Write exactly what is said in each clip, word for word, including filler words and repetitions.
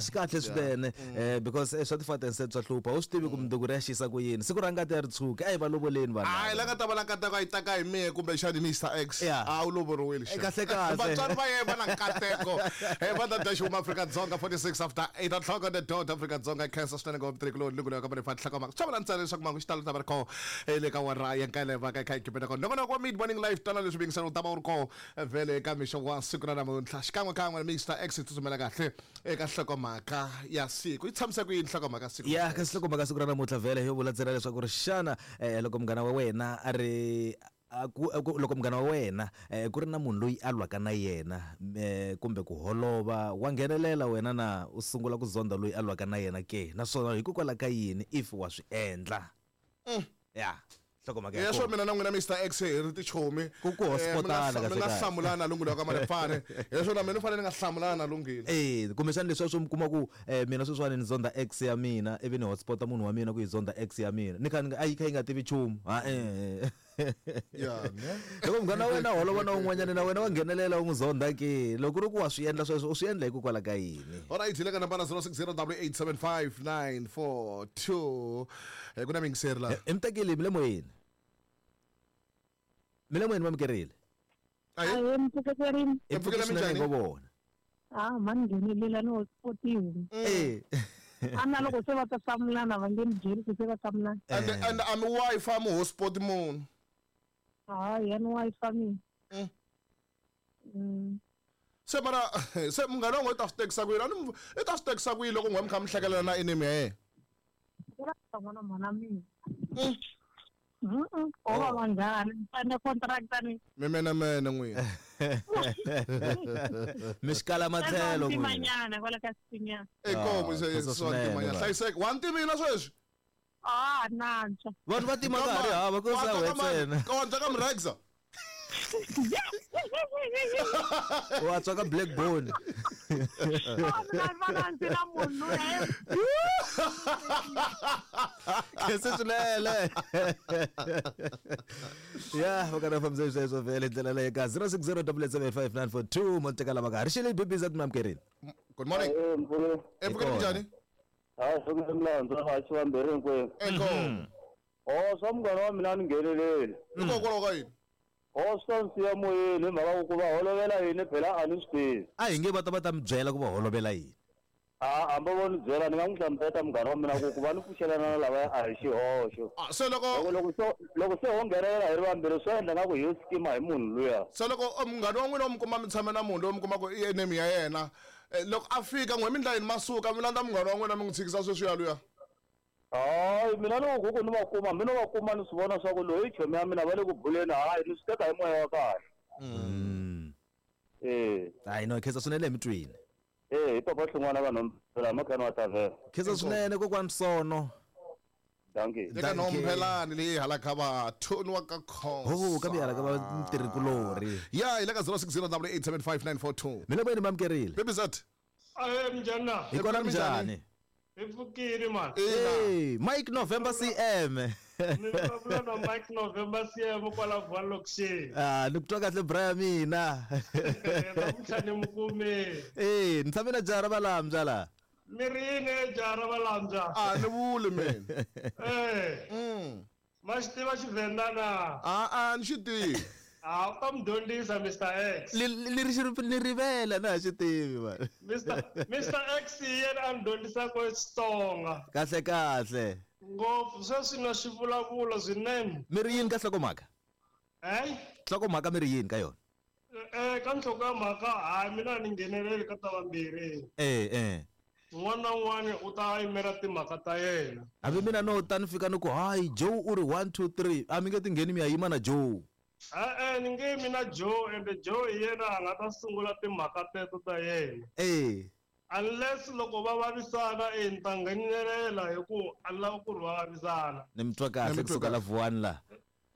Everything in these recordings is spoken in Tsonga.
Swi kahle swinene eh because eh, swa ti-father swa hlupha u swi tivi ku mundzuku ri ya xisa ku yini siku ra ngati ya ri tshuki a hi va lovoleni vanhu hayi la nga ta va la nkateko a yi taka hi mehe kumbexani Mister X Yeah. a wu lovoriwile Eh, kahle kahle. Vatswari va yena va na nkateko. Eh, va ta dya xihuma Afrika-Dzonga forty-six after eight o'clock on the dot. Afrika-Dzonga khensa swinene ngopfu tirhikiloni loko leyo ka va tlhaka mhaka swi vula ntsena leswaku mangu xitalo ta va ri kona eh, le ka wara ya nkele va ka kha hi kipeta kona nongonoko wa mid morning live tala leswi bingisana u ta va u ri kona eh, vhele eka mixo wa siku ra namuntlha xikan'wekan'we Mister X hi tsutsumela kahle eka nhlokomhaka ya siku yi tshamise ku yini nhlokomhaka ya siku ya kasi loko mhaka siku ra namuntlha vhele yo vula ntsena leswaku ri xana eh, loko munghana wa wena a ri a ku, a ku, loko munghana wa wena eh, ku ri na munhu loyi a lwaka na yena eh, kumbe ku holova wa nghenelela wena na u sungula ku zonda loyi a lwaka na yena ke naswona hikokwalaho ka yini if wa swi endla ya nhlokomhaka ya yeswo kona. mina na n'wina Mister X hi ri tichomi Ku- ku hotspotana Eh, mi nga kahle mi nga kahle. hlamulana lunghilo ka Malefane leswo na mina ni fanele ni nga hlamulana lunghilo Eh, kumbexana leswiya swo mi kuma ku eh, mina sweswiwani ni zonda ex ya mina ivi ni hotspota munhu wa mina ku yi zonda ex ya mina ni kha ni nga- a yi kha yi nga tivi nchumu ha eh Ya, ne? loko munghana wa wena holova na un'wanyana na wena wa nghenelela u n'wi zonda ke loko ku ri ku wa swi endla sweswo u swi endla hikokwalaho ka yini Alright, hi le ka nambara zero six zero double eight seven five nine four two Eh, ku na miyingiseri laha i mi tekile mi le moyeni mi le moyeni va mikerile Ahee. Ahee, mpfuketerini. i Hi pfukela pfuke swinene minjhani? ngo vona Ah, mani nghenelela ni hotspotiwe. Eh. A na loko se va ta hlamulana va nge ni byeli ku se va hlamulana. and and a mi Wi-Fi mi hotspot munhu Hayi, ya ni Wi-Fi mina. Mm. Mm. se mara se munghana wa n'wina i ta swi tekisa ku yini A ni mu- i ta swi tekisa ku yini loko n'we mi kha mi hlekelela na enemy ya yena Ku ra n'wana mhana mina. Mm. Mm. O va vanghana, ni sign contract ni. mi menemene n'wina mi xikala matlhelo n'wina Ntimanyana kwala ka Xitinyana. inkomu Ah, se khensa swa swinene, ntimanyana va. hlayiseka wa ntimina sweswi Ah, nantswa. vanhu va tima ka ha ri hava ku sa we ntsena wa ka mrexa wa tswa ka blackbone Ah, mina ni vona ndzi na munhu loyi. khensa swinene ya va karhi va fambisa sweswo vhele ndlela leyi ka zero six zero double eight seven five nine four two mo teka lava ka ha ri xile bbz mi amukerile good morning Eh, mpfule. epfukela minjhani Hayi, swi milandzu a xi vambirhi hinkwenu. inkomu Oh, swa munghana wa mina a ni ngheneleli. hikokwalaho ka yini Oh, swi ta ni siya moyeni hi mhaka ku va holovela yini phela a ni swi tivi. a hi nge va ta va ta mi byela ku va holovela yini A hambi vo ni byela ni nga n'wi hlamusela munghana wa mina ku ku va ni pfuxelana na lavaya a hi xihoxo. Ah, se loko Loko loko se loko se ho nghenelela hi ri vambirhi swi endla nga ku hi yo skima hi munhu luya. se loko eh, munghana wa n'wina u mi kuma mi tshame na munhu loyi mi kuma ku i enemy ya yena eh, loko a fika n'we mi ndla yini masuka mi landza munghana wa n'wina mi n'wi tshikisa sweswiya luya Hayi, mina loko ku ku ni va kuma mi no va kuma ni swi vona swa ku loyi chomi ya mina va le ku buleni hayi ni swi teka hi moya wa kahle. Mm. Eh, hayi no khensa swinene hi mi twini eh, hi papa Hlongwana va Nhompela makhani wa Tavera. khensa swinene kokwani sono Dankie. eka Dankie. nhompelani leyi hala ka vathoni wa ka khosa ho ka mi hala ka vatirhikulorhi ya hi le ka zero six zero double eight seven five nine four two mi le moyeni mi amukerile bbz Ahee, minjhani na? hi kona Minjhani? minjhani Hi pfukile mani. ina Hey, Mike November C M. Ni vulavula na Mike November C M kwala Valloksheni. Ah, ni ku twa kahle bra ya mina. Namuntlha ni mi kumile. Eh, ni tshame na jaha ra valambya la. Mi ri yini e jaha ra valambya? a ni vuli mina Eh, Mm. ma xi tiva Xivhenda na? a a ni xi tivi Ah, u ta mi dyondzisa Mister X. Li li ri xi ni rivela na ha xi tivi man. Mister Mister X hi yena a ni dyondzisaka Xitsonga. Kahle kahle. Ngopfu sweswi na xi vulavula swinene. Mi ri yini ka nhlokomhaka? Hayi? Nhlokomhaka mi ri yini ka yona? Eh, ka nhloko ya mhaka hayi mina a ni ngheneleli ka ta vambirhi. Eh eh. Un'wana na un'wana u ta yimela timhaka ta yena. Hambi mina no ta ni fika ni ku hayi Joe u ri one two three a mi nge ti ngheni mi ya yima na Joe. E-e ni nge yimi na Joe ende Joe hi yena a nga ta sungula timhaka teto ta yena. Eh. Unless loko va vavisana e ni ta nghenelela hi ku a ni lava ku ri va vavisana. Ni mi twa Ni kahle mi twa kusuka la Vuwani la.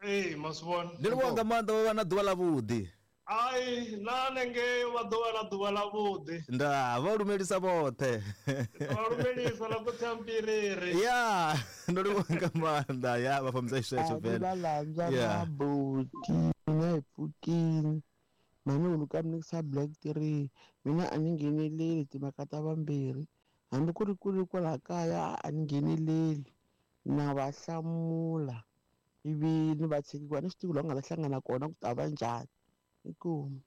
E ma swi vona. Ni ri vonga mandla va va na ḓuvha ḽa vhuḓi. Hayi na nenge va ḓo vha na ḓuvha ḽa vhuḓi. Nda vha lumelisa vhoṱhe. Va lumelisa la ku tshambiriri. Ya, ndo livhuwa nga maanḓa ya vha fambisa xisweswo A ni vhele. valambya Yeah. mabuti mina hi pfukile mhani hulu ka mi nikisa black three mina a ni ngheneleli timhaka ta vambirhi Hambi ku ri ku ri kwala kaya a ni ngheneleli na va hlamula ivi ni va tshiki ku a ni swi tivi laha ku nga ta hlangana kona ku ta va njhani. Inkomu.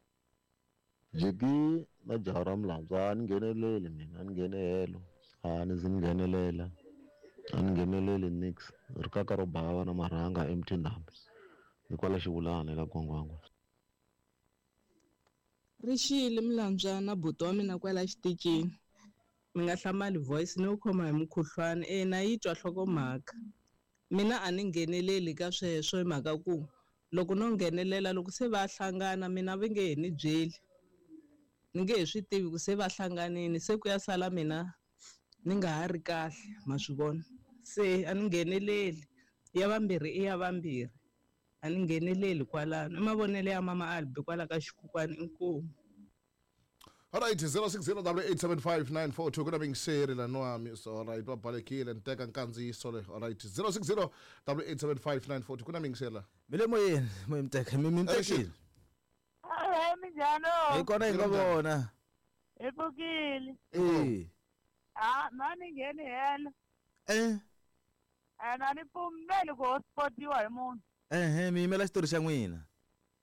Jiki na jaha ra Mlandzu a ni ngheneleli mina a ni nghene helo a ni zi ni nghenelela a ni ngheneleli nix ri kaka ro bava na marhanga M T Ndhambi ni kwala Xivulana eka Gwangwangwa. Rixile Mlandzwana buti wa mina kwala xitichini mi nga hlamali voice ni wu khoma hi mukhuhlwani e na yi twa nhlokomhaka mina a ni ngheneleli ka sweswo hi mhaka ku loko no nghenelela loko se va hlangana mina va nge he ni byeli ni nge he swi tivi ku se va hlanganini se ku ya sala mina ni nga ha ri kahle ma swi vona se a ni ngheneleli ya vambirhi i ya vambirhi a ni ngheneleli kwalano i mavonelo ya mama Albi kwala ka xikhukwani inkomu. All right, zero six zero double eight seven five nine four two. Kuna mingiseri la noami. So all right, babalekile nteka nkandziyiso le. All right, zero six zero double eight seven five nine four two. Kuna mingiseri la. Mi le moyeni, moyeni mteka, mi mtekile. Hayi minjhani? Hi kona hi nga vona. Hi pfukile. Eh. Ah, na ni ngheni helo. Eh. Ene a ni pfumeli ku hotspotiwa hi munhu. Ehe, mi yimela xitori xa n'wina.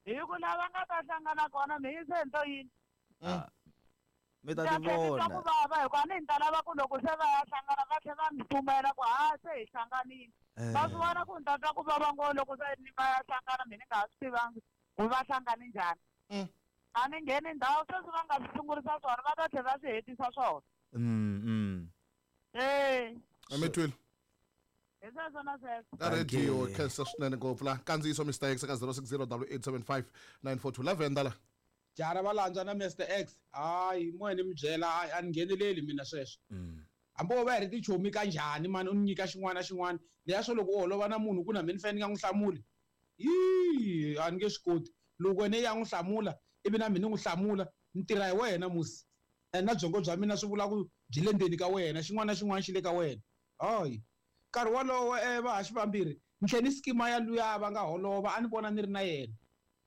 Hi ku lava nga ta hlangana kona mi yise hi nto yini? Ah. Mi ta ti vona. Ku vava hikuva ni ta lava ku loko se va ya hlangana va tlhela va mi pfumela ku ha se hi hlanganile. Va swi vona ku ni ta twa ku vava ngopfu loko se ni va ya hlangana mina ni nga ha swi tivangi ku va hlangane njhani. A ni ngheni ndhawu sweswi va nga swi sungurisa swona va ta tlhela va swi hetisa swona. Mm mm. Eh. A mi twile. Hi sweswo na sweswo. Ka radio khensa swinene ngopfu la kandziyiso Mister X ka zero six zero double eight seven five nine four two. Lavenda la. Jara va landzwa na Mister X hayi moya ni mi byela a ni ngheneleli mina sweswo. Hambi wo va hi ri tichomi kanjhani mani u ni nyika xin'wana na xin'wana leya swo loko u holova na munhu ku na mina ni fanele ni nga n'wi hlamuli yi a ni nge swi koti loko wena ya n'wi hlamula ivi na mina ni n'wi hlamula ni tirha hi wena musi ene na byongo bya mina swi vula ku byi le ndzeni ka wena xin'wana na xin'wana xi le ka wena hayi nkarhi wolowo vahaxi vambirhi ni tlhela ni skima ya luya va nga holova a ni vona ni ri na yena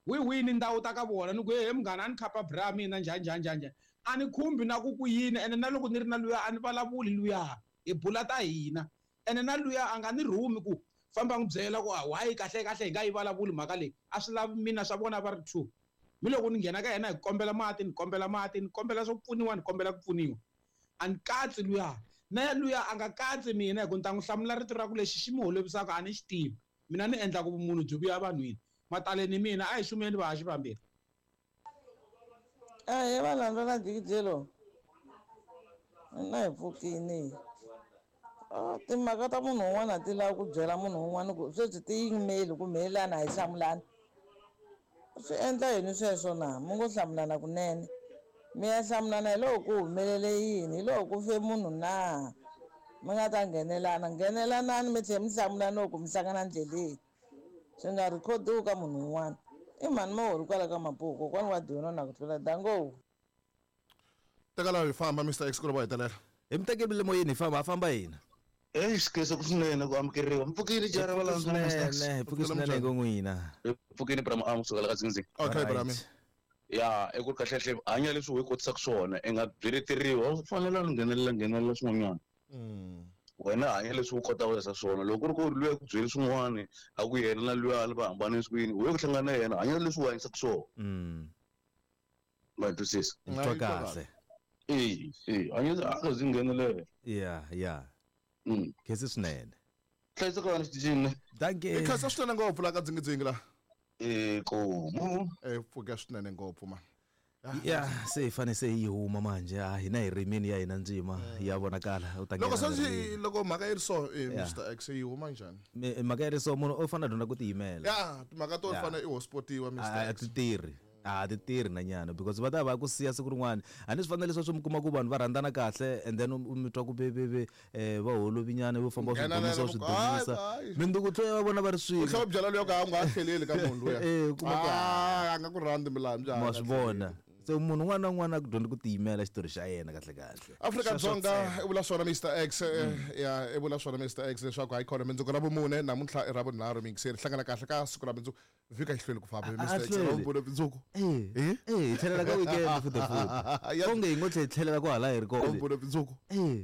wi wini ndhawu ta ka vona ni ku he munghana a ni khapa bra mina njhani njhani njhani njhani a ni khumbi na ku ku yini ene na loko ni ri na luya a ni vulavuli luya hi bula ta hina ene na luya a nga ni rhumi ku famba n'wi byela ku hayi kahle kahle hi nga yi vulavuli mhaka leyi a swi lavi mina swa vona va ri two mi loko ni nghena ka yena hi kombela mati ni kombela mati ni kombela swo pfuniwa ni kombela ku pfuniwa a ni katsi luya na luya a nga katsi mina hi ku ni ta n'wi hlamula rito ra ku lexi xi mi holovisaka a ni xi tivi mina ni endla ku vumunhu byi vuya vanhwini mataleni mina a hi xumeni vahaxi vambirhi. Ahee valandza na Jikijelo na hi pfukini timhaka ta munhu un'wana ti lava ku byela munhu un'wana ku sweswi ti yimeli ku mhelana hi hlamulana swi endla yini sweswo na mi ngo hlamulana kunene mi ya hlamulana hi loko ku humelele yini hi loko ku fe munhu na mi nga ta nghenelana nghenelanani mi tlhela mi hlamulana loko mi hlangana ndleleni swi nga rhikhodiwi ka munhu un'wana i mhani mahori kwala ka Mapuku kokwani wa dyona na ku tlula dango. Teka laha hi famba Mister X ku ri va hetelela hi mi tekile moyeni hi famba ha famba hina. Eyi xikhensa ku swinene ku amukeriwa mi pfukile jara va landza Mister X. Hi pfuki swinene ku n'wina. Hi pfukile Brahma a kusukela ka Zinzi. Okay Brahma. Ya i ku kahle kahle hanya leswi u hi kotisaka swona i nga byeleteriwa u fanele u nghenelela nghenelela swin'wanyana. Wena hanya leswi u kotaka ku endla swona loko ku ri ku luya ku byeli swin'wana a ku yena na luya va hambane swini u ye ku hlangana na yena hanya leswi u hanyisaka swona. Ma twisisa? Twa kahle. Eh eh hanya a zi nghenelela. Yeah yeah. Khensa swinene. Hlayiseka wena xitichini. Dankie. I khensa swinene ngopfu la ka Dzingidzingi la. Eh komu. Eh pfuka swinene ngopfu man. Ya se hi fane se yi huma manje a hina hi rimini ya hina ndzima ya vonakala u ta loko se loko mhaka yi ri so Mister X yi huma njhani mhaka yi ri so munhu u fanele a dyondza ku tiyimela ya timhaka to fana i hotspotiwa Mister A ti tirhi a ti tirhi na nyana because va ta va ku siya siku rin'wana a ni swi fanele leswi mi kuma ku vanhu va rhandzana kahle and then u mi twa ku bebebe va holovinyana vo famba swi dumisa swi dumisa minduku tlo ya vona va ri swin'we u tlhela u byela luya ku a nga ha tlheleli ka munhu luya eh kuma ku a nga ku rhandzi milambu ma swi vona so munhu un'wana na un'wana a ku dyondza ku tiyimela xitori xa yena kahle kahle Afrika Dzonga i vula swona Mister X ya i vula swona Mister X leswaku hayi khona mindzuku ra vumune namuntlha i ra vunharhu mingiseri hlangana kahle ka siku ra mindzuku vhika yi hlweli ku famba Mister X ra vumune mindzuku eh eh hi tlhelela ka weekend futhi futhi onge hi ngo tlhelela kwahala hi ri kona vumune mindzuku eh.